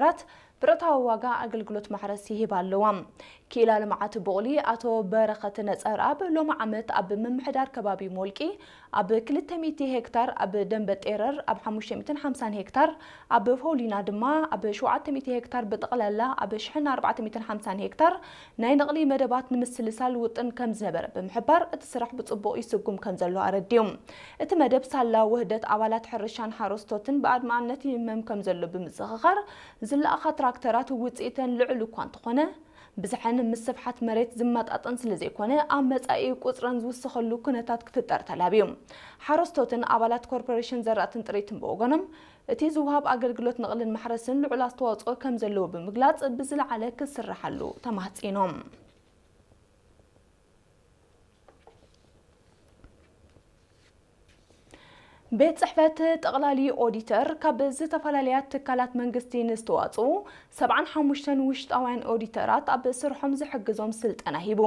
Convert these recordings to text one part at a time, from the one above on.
ራት ብረታዊ ዋጋ ኣገልግሎት ማሕረስ ይህባ ኣለዋ። ክኢላ ልምዓት ቡቕሊ ኣቶ በረኸት ነጸርኣብ ሎሚ ዓመት ኣብ ምምሕዳር ከባቢ ሞልቂ ኣብ ክልተ ሚእቲ ሄክታር፣ ኣብ ደንበ ጤረር ኣብ ሓሙሽተ ሚእትን ሓምሳን ሄክታር፣ ኣብ ፎሊና ድማ ኣብ ሸውዓተ ሚእቲ ሄክታር፣ ብጠቕላላ ኣብ ሽሕን ኣርባዕተ ሚእትን ሓምሳን ሄክታር ናይ ነቕሊ መደባት ንምስልሳል ውጥን ከም ዝነበረ ብምሕባር፣ እቲ ስራሕ ብጽቡቕ ይስጉም ከም ዘሎ ኣረዲኡ። እቲ መደብ ሳላ ውህደት ኣባላት ሕርሻን ሓረስቶትን ብኣድማዕነት ይህመም ከም ዘሎ ብምዝኽኻር፣ ዝለኣኻ ትራክተራት ውጽኢተን ልዑል እኳ እንተኾነ፣ ብዝሐን ምስ ስፍሓት መሬት ዝመጣጠን ስለ ዘይኮነ፣ ኣብ መጻኢ ቁጽረን ዝውስኸሉ ኩነታት ክፍጠር ተላብዩ። ሓረስቶትን ኣባላት ኮርፖሬሽን ዘራእትን ጥሪትን ብወገኖም፣ እቲ ዝወሃብ ኣገልግሎት ነቕልን ማሕረስን ልዑል ኣስተዋጽኦ ከም ዘለዎ ብምግላጽ፣ ብዝለዓለ ክስርሓሉ ተማህጺኖም። ቤት ጽሕፈት ጠቕላሊ ኦዲተር፣ ካብ ዝተፈላለያ ትካላት መንግስቲ ንዝተዋጽኡ ሰብዓን ሓሙሽተን ውሽጣውያን ኦዲተራት ኣብ ስርሖም ዝሕግዞም ስልጠና ሂቡ።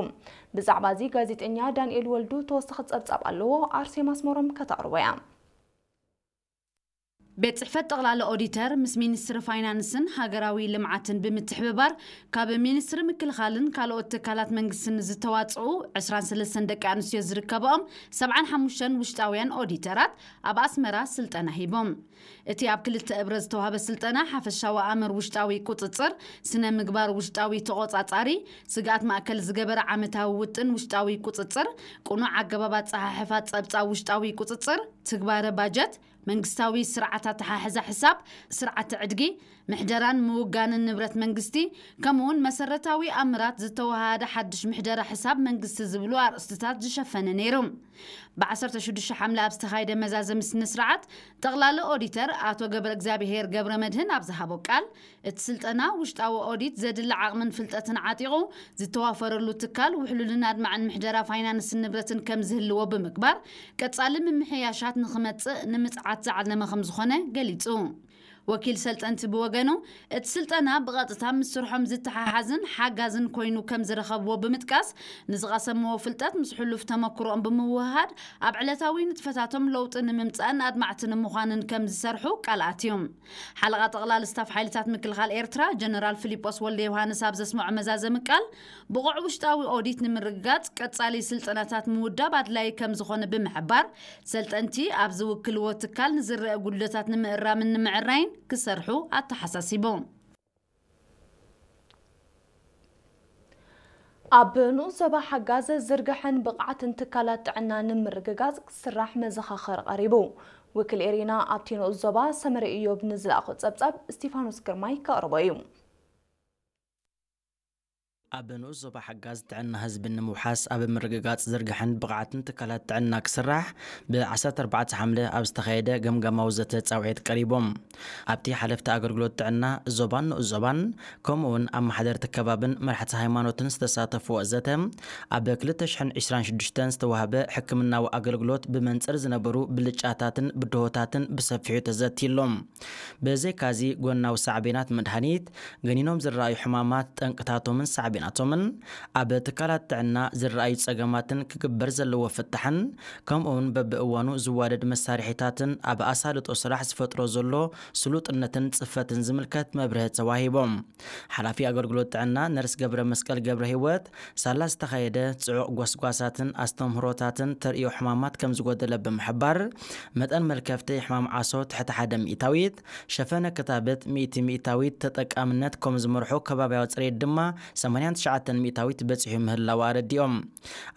ብዛዕባ እዚ ጋዜጠኛ ዳንኤል ወልዱ ተወሳኺ ጸብጻብ ኣለዎ፣ ኣርሴማ ኣስመሮም ከተቕርቦ እያ። ቤት ጽሕፈት ጠቕላሊ ኦዲተር ምስ ሚኒስትሪ ፋይናንስን ሃገራዊ ልምዓትን ብምትሕብባር፣ ካብ ሚኒስትሪ ምክልኻልን ካልኦት ትካላት መንግስትን ዝተዋጽኡ ዕስራን ሰለስተን ደቂ ኣንስትዮ ዝርከብኦም ሰብዓን ሓሙሽተን ውሽጣውያን ኦዲተራት ኣብ ኣስመራ ስልጠና ሂቦም። እቲ ኣብ ክልተ እብረ ዝተዋህበ ስልጠና፣ ሓፈሻዊ ኣምር ውሽጣዊ ቁጽጽር፣ ስነ ምግባር ውሽጣዊ ተቖጻጻሪ፣ ስግኣት ማእከል ዝገበረ ዓመታዊ ውጥን ውሽጣዊ ቁጽጽር፣ ቅኑዕ ኣገባብ ኣጸሓሕፋ ጸብጻብ ውሽጣዊ ቁጽጽር፣ ትግባረ ባጀት፣ መንግስታዊ ስርዓት ኣተሓሕዛ ሕሳብ፣ ስርዓተ ዕድጊ፣ ምሕደራን ምውጋንን ንብረት መንግስቲ፣ ከምኡውን መሰረታዊ ኣምራት ዝተወሃሃደ ሓድሽ ምሕደራ ሕሳብ መንግስቲ ዝብሉ ኣርእስትታት ዝሸፈነ ነይሩ። ብ ዓሰርተ ሽዱሽተ ሓምለ ኣብ ዝተኻየደ መዛዘሚ ስነ ስርዓት፣ ጠቕላሊ ኦዲተር ኣቶ ገብረ እግዚኣብሄር ገብረ መድህን ኣብ ዝሃቦ ቃል፣ እቲ ስልጠና ውሽጣዊ ኦዲት ዘድሊ ዓቕምን ፍልጠትን ዓጢቑ ዝተዋፈረሉ ትካል ውሕሉልን ኣድማዕን ምሕደራ ፋይናንስን ንብረትን ከም ዝህልዎ ብምግባር፣ ቀጻሊ ምምሕያሻት ንኽመጽእ ንምጽዓት ዝዓለመ ከም ዝኾነ ገሊጹ። ወኪል ሰልጠንቲ ብወገኑ፣ እቲ ስልጠና ብቐጥታ ምስ ስርሖም ዝተሓሓዝን ሓጋዝን ኮይኑ ከም ዝረኸብዎ ብምጥቃስ፣ ንዝቐሰምዎ ፍልጠት ምስ ሕሉፍ ተመክሮኦም ብምውህሃድ፣ ኣብ ዕለታዊ ንጥፈታቶም ለውጢ ንምምጻእን ኣድማዕቲ ንምዃንን ከም ዝሰርሑ ቃል ኣትዩ። ሓለቓ ጠቕላሊ ስታፍ ሓይልታት ምክልኻል ኤርትራ ጀነራል ፊሊጶስ ወልደ ዮሃንስ ኣብ ዘስምዖ መዛዘሚ ቃል፣ ብቑዕ ውሽጣዊ ኦዲት ንምርግጋጽ ቀጻሊ ስልጠናታት ምውዳብ ኣድላዪ ከም ዝኾነ ብምሕባር፣ ሰልጠንቲ ኣብ ዝውክልዎ ትካል ንዝረአ ጉድለታት ንምእራምን ንምዕራይን ክሰርሑ ኣተሓሳሲቡ። ኣብ ንኡስ ዞባ ሓጋዝ ዝርግሐን ብቕዓትን ትካላት ጥዕና ንምርግጋጽ ክስራሕ መዘኻኸሪ ቀሪቡ። ውክል ኤሪና ኣብቲ ንኡስ ዞባ ሰመረ ኢዮብ ንዝለኣኾ ጸብጻብ እስቲፋኖስ ግርማይ ከቕርቦ እዩ። ኣብ ንኡስ ዞባ ሓጋዝ ጥዕና ህዝቢ ንምውሓስ ኣብ ምርግጋጽ ዝርግሐን ብቕዓትን ትካላት ጥዕና ክስራሕ ብ ዓሰርተ ኣርባዕተ ሓምለ ኣብ ዝተኻየደ ገምጋማዊ ዘተ ጻውዒት ቀሪቦም። ኣብቲ ሓለፍቲ ኣገልግሎት ጥዕና ዞባን ንኡስ ዞባን ከምኡውን ኣመሓደርቲ ከባብን መራሕቲ ሃይማኖትን ዝተሳተፍዎ ዘተ፣ ኣብ ክልተ ሽሕን ዕስራን ሽዱሽተን ዝተዋህበ ሕክምናዊ ኣገልግሎት ብመንጽር ዝነበሩ ብልጫታትን ብድሆታትን ብሰፊሑ ተዘትይሎም። ብዘይካዚ፣ ጎናዊ ሳዕቤናት መድሃኒት፣ ገኒኖም ዝረኣዩ ሕማማት፣ ጠንቅታቶምን ሳዕቤናቶምን፣ ኣብ ትካላት ጥዕና ዝረኣዩ ጸገማትን ክግበር ዘለዎ ፍታሕን፣ ከምኡውን በብእዋኑ ዝዋደድ መሳርሒታትን ኣብ ኣሳልጦ ስራሕ ዝፈጥሮ ዘሎ ስሉጥነትን ጽፈትን ዝምልከት መብርሂ ተዋሂቦም። ሓላፊ ኣገልግሎት ጥዕና ነርስ ገብረ መስቀል ገብረ ህይወት፣ ሳላ ዝተኻየደ ጽዑቕ ጎስጓሳትን ኣስተምህሮታትን ተርእዮ ሕማማት ከም ዝጎደለ ብምሕባር፣ መጠን መልከፍቲ ሕማም ዓሶ ትሕቲ ሓደ ሚእታዊት፣ ሸፈነ ክታበት ሚእቲ ሚእታዊት፣ ተጠቃምነት ከም ዝመርሖ ከባብያዊ ጽሬት ድማ ሰማንያን ትሽዓተን ሚእታዊት በጺሑ ምህላው ኣረዲኦም።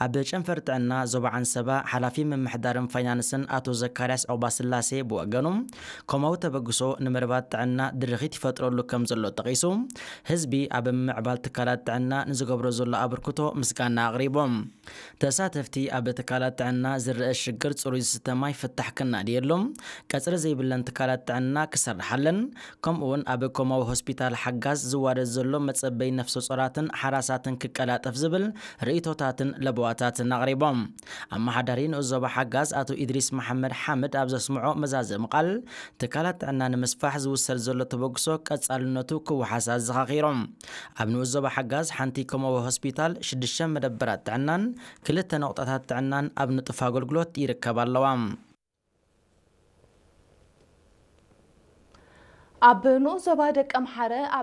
ኣብ ጨንፈር ጥዕና ዞባ ዓንሰባ ሓላፊ ምምሕዳርን ፋይናንስን ኣቶ ዘካርያስ ዑቕባስላሴ ብወገኑ፣ ከምኡ ተበግሶ ንመደባት ጥዕና ድርኺት ይፈጥረሉ ከም ዘሎ ጠቒሱ፣ ህዝቢ ኣብ ምምዕባል ትካላት ጥዕና ንዝገብሮ ዘሎ ኣበርክቶ ምስጋና ኣቕሪቦም። ተሳተፍቲ ኣብ ትካላት ጥዕና ዝረአ ሽግር ጽሩይ ዝስተ ማይ ፍታሕ ክናድየሎም፣ ቀጽሪ ዘይብለን ትካላት ጥዕና ክሰርሓለን፣ ከምኡውን ኣብ ኮማዊ ሆስፒታል ሓጋዝ ዝዋደድ ዘሎ መጸበይ ነፍሰ ጾራትን ሓራሳትን ክቀላጠፍ ዝብል ርእይቶታትን ለበዋታትን ኣቕሪቦም። ኣመሓዳሪ ንኡስ ዞባ ሓጋዝ ኣቶ ኢድሪስ መሓመድ ሓምድ ኣብ ዘስምዖ መዛዘሚ ቃል፣ ትካላት ጥዕና ንምስፋሕ ዝውሰድ ዘሎ ተበግሶ ቀጻልነቱ ክወሓስ ኣዘኻኺሮም። ኣብ ንኡስ ዞባ ሓጋዝ ሓንቲ ኮማዊ ሆስፒታል፣ ሽዱሽተ መደበራት ጥዕናን ክልተ ነቑጣታት ጥዕናን ኣብ ንጡፍ ኣገልግሎት ይርከባ ኣለዋ። ኣብ ንኡስ ዞባ ደቀምሓረ